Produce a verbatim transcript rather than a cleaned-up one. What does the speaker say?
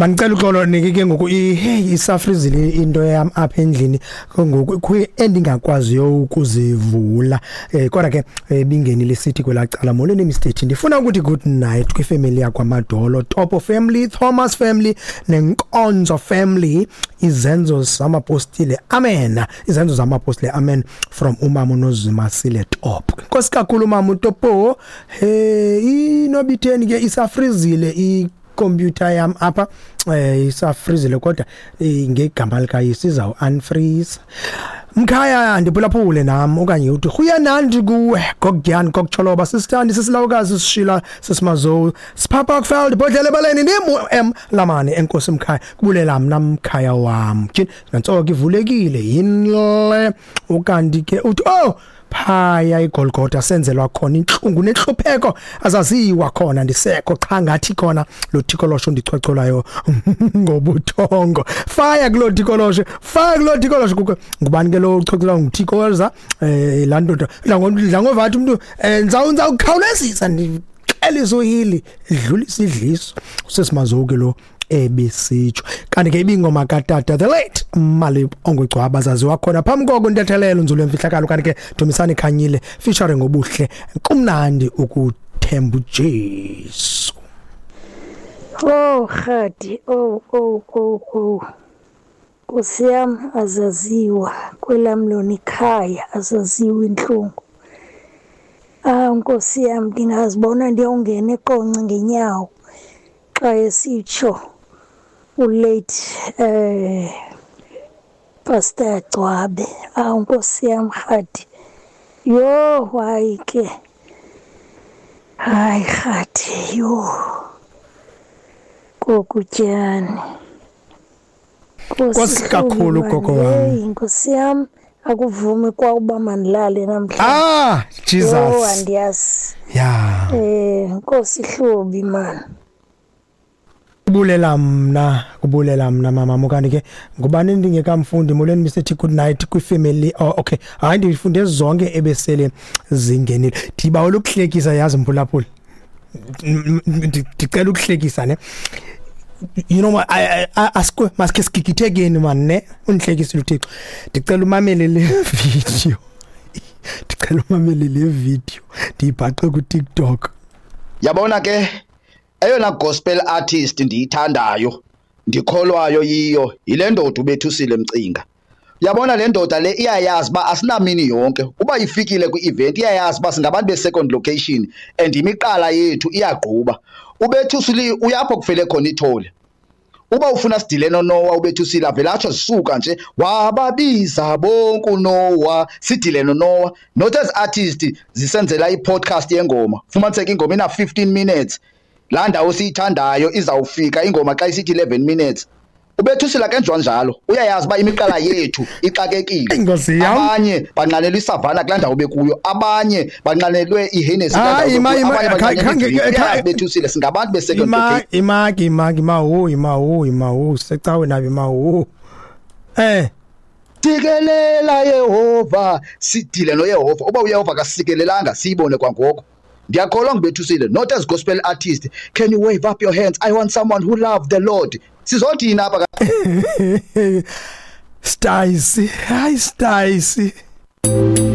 Mandicela uxolo niki ke ngoku, hey, isafrizile into yam apha endlini ngoku endingakwaziyo ukuzivula, eh kodwa ke bingenile sithi kwelacala. Molweni Mister T, ndifuna ukuthi good night kwifamily yakwaMadolo, Topo family, Thomas family nenkonzo family, izenzo zamapostile, amen, izenzo zamapostile, amen, from umama uNozimasile Top. Nkosi kakhulu mama uTopo. Hey, inobitheni ke, isafrizile i computer yam apha, eh isafrizile, kodwa ngegama likaYesu izawu unfreeze. Mkhaya, ndiphulaphule nami okanye uthi huyanandi kuwe gokudyani kokucholoba sisithandi sisilawukazi sishila sisimazo siphapha kufeld bodlele baleni ndim M lamane. Enkosi mkhaya, kubulela mna mkhaya wam. Tyhini, nantsoke ivulekile yinle. Ukanti ke uthi oh phaya iGolgotha senzelwa khona inhlungu nenhlupheko azaziwa khona, ndisekho cha ngathi khona lo thikolosho ndichwecholayo ngobuthongo. Fire kulo thikolosho, fire kulo thikolosho. Kukho ngubani ke lo uchwecholayo nguthikoza eh la ndoda dlangovathi umuntu eh nza ukhawulezisa ndixelisa uhili dlulisa idliso usesimazoke lo ebisitsho. Kanti ke ibingoma katata the late Mali ongugcwaba zaziwa khona phambi koko intethelelo nzulu emfihlakalo. Kanti ke Dumisani Khanyile featuring ngobuhle, kumnandi ukuthemba uJesu. Oh Khadi, oh oh oh oh, Nkosi yam, azaziwa kwelam lona ikhaya, azaziwa inhlungu. Ah Nkosi yam, ndingazibona ndiyongena eQonce ngenyawo xa esitsho ulate eh Pastor Gcwabe. Ah Nkosi yam Khadi, yo hayi ke, hayi Khadi, yo kokutyani. Nkosi kakhulu gogo wami. Nkosi yam, akuvumi kwa uba mandilale namhlanje. Ah Jesus, yo andiyazi. Yeah, eh Nkosi Hlubi man. Kubulela mna, kubulela mna mama. Kanti ke ngubani ndingekamfundi? Molweni Mister T, good night kwifamily. Oh okay, hayi ndifunde zonke ebesele zingenile. Ndibawela ukuhlekisa yazi mphulaphula, ndicela ukuhlekisa ne, you know what, asikwe maske sigigithekeni man ne, undihlekisile uThixo. Ndicela umamele le video, ndicela umamele le video ndiyibhaqe ku TikTok. Yabona ke eyona gospel artist ndiyithandayo ndikholwayo yiyo yile ndoda uBethusile Mcinga. Yabona le ndoda le iyayazi uba asinamini yonke, uba ifikile kwi-event iyayazi uba singabantu be-second location and imiqala yethu iyagquba. UBethusile uyapho kufele khona ithole. Uba ufuna sidile noNoah, uBethusile avele atsho zisuka nje wababiza bonke uNoah, sidile noNoah. Not as artist zisenzela i-podcast yengoma, fumaniseke ingoma ina fifteen minutes. La ndawo siyithandayo izawufika ingoma xa isithi eleven minutes. UBethusile akenziwa njalo, uyayazi uba imiqala yethu ixakekile. Abanye banqanelwe isavana kulaa ndawo bekuyo, abanye banqanelwe iHennessy kulaa ndawo bekuyo. Bethusile singabantu be-second location. Imaki imaki mawu imawu imawu secawe nabi mawu eh Sikelela Yehova, sidile noYehova. Uba uYehova akasikelelanga siyibone kwangoko. Ndiyakholwa nguBethusile, not as gospel artist. Can you wave up your hands? I want someone who loved the Lord. Sizothini apha? Stacey, hi Stacey.